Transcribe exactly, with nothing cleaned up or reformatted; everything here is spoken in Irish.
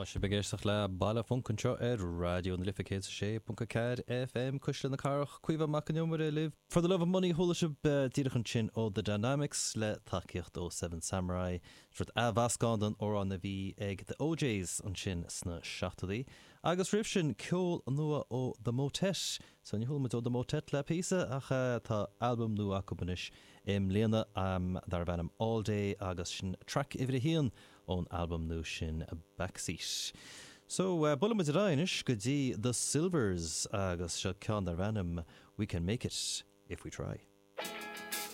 sibh ag éisteacht le Baile Func anseo ar Raidió na Life céad sé ponc a ceathair FM Cuisle na Cathrach Caoimhe Mac an Iomaire libh. For the Love of Money chuala sibh díreach ansin ó The Dynamics le tacaíocht ó Seven Samurai rud athmheascán den amhrán a bhí ag The O'Jays ansin sna seachtóidí. Agus roimh sin ceol nua ó The Motet, so ní chuala muid ó The Motet le píosa ach tá albam nua acu anois i mbliana um, darb ainm All Day agus sin track uimhir a haon ón albam nua sin Backseat. So uh, buailfidh muid ar aghaidh anois go dtí The Sylvers agus seo ceann darb ainm We Can Make It If We Try.